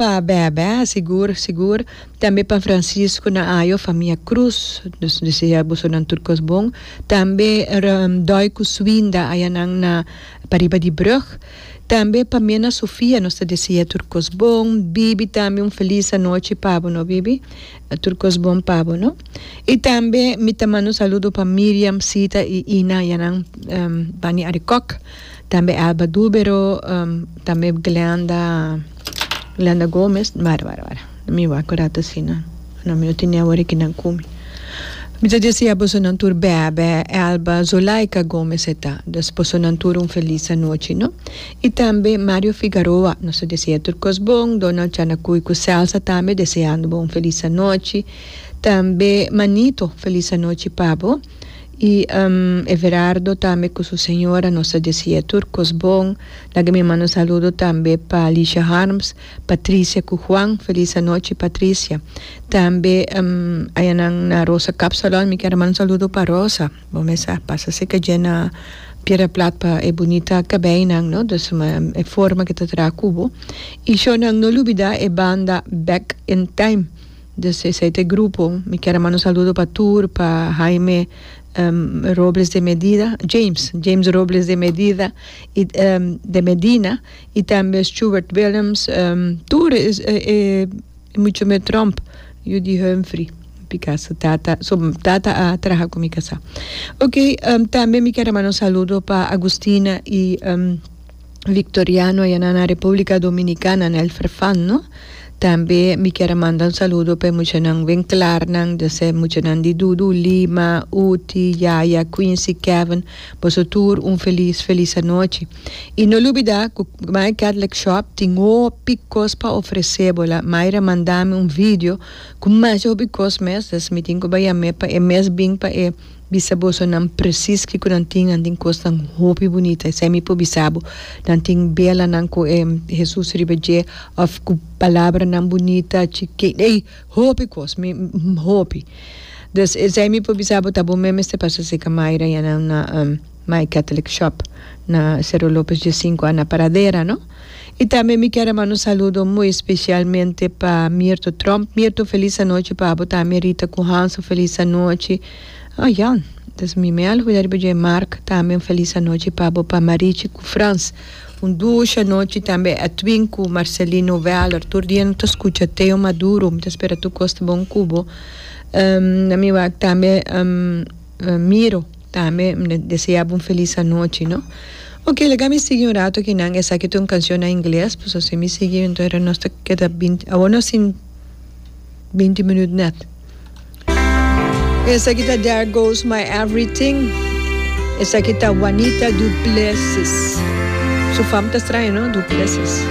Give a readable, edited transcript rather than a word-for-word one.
Pa Bèbè, sigur sigur. Tambe pa Francisco na Ayo, famia Cruz. Nos desea bosonan tur kos bon. Tambe Doy ku Swinda ayanan na pariba di brug. Tambe pa Mena Sofia nos ta desea tur kos bon. Bibi tambe un felis anochi pa bo no Bibi. Tur kos bon pa bo no. I tambe mi ta manda un saludo pa Miriam, Sita i Ina ayanan bani Arikok. Tambe Elba Dubero, tambe Glenda, Glenda Gomez, wara wara wara, mi wak un rato asina, no mi no tene awor aki nan ku mi. Mi ta desea bosonan tur bèbè, Elba, Zulaika Gomez e ta, dus bosonan tur un felis anochi no. I tambe Mario Figaroa, nos ta desea tur kos bon, Donald Chanacuy ku Celsa tambe deseando bo un felis anochi, tambe Manito felis anochi pa bo. Y Everardo tambe cu su señora nos ta decia tur cos bon. Laga mi manda un saludo tambe pa Alicia Harms, Patricia cu Juan, feliz anochi Patricia. Tambe ayanan na Rosa Kapsalon mi kier a manda un saludo pa Rosa, bo mes a pasa cerca dje na Piedra Plat pa e bunita cabeynan no, dus e forma cu ta traha cu bo. Y shownan no lubida e banda Back in Time. Dus esei ta e grupo. Mi kier a manda un saludo pa tur, pa Jaime Robles de Medida, James, James Robles de Medida y de Medina y tambe Stuart Willems, tur e mucho me Tromp, yu di Humphrey, pika su tata, su tata a traha ku mi kasá. Ok, tambe mi kier a manda un saludo pa Agustina y Victoriano ayana na Republica Dominicana na El Farfán no. Tambe mi kier a manda un saludo pa e muchanan Winklarnan, dus e muchanan di Dudu, Lima, Uti, Yaya, Quincy, Kevin, boso tur un felis felis anochi. Y no lubida cu My Catholic Shop tin hopi cos pa ofrece bo. La Mayra manda mi un video cu masha hopi cos mes, dus mi tin cu bay yam'e pa e mes bin pa e Bisa boso nan presis kiko nan tin, nan tin kosnan hopi bunita, esei mi por bisa bo. Nan tin belanan ku e Hesus riba dje òf ku palabranan bunita, chikí, ey, hopi kos, mi hopi. Dus esei mi por bisa bo ta bo mes mester pasa seka Mayra ya nan na My Catholic Shop na Sero Lopez diesinku a na Paradera no. I tambe mi kier a manda un saludo muy especialmente pa Mirto Tromp. Mirto felis anochi pa bo tambe Rita ku Hanso felis anochi. Oh Jan, des mi me a olvida riba dje Mark tambe un felis anochi pa bo pa Marichi ku Frans. Un dushi anochi tambe Edwin ku Marcelino Weller. Tur dia no ta skucha Teo Maduro. Mi ta spera tur kos ta bon ku bo. Na mi wak tambe Miro. Tambe mi ta desea bo un felis anochi no. Ok laga mi sigui un rato akinan esaki ta un cancion na ingles pasobra si mi sigui enton era nos ta keda binti awor nos tin binti minuut net. Esaki ta There Goes My Everything esaki ta Juanita Du Plessis su fam ta straño no Du Plessis.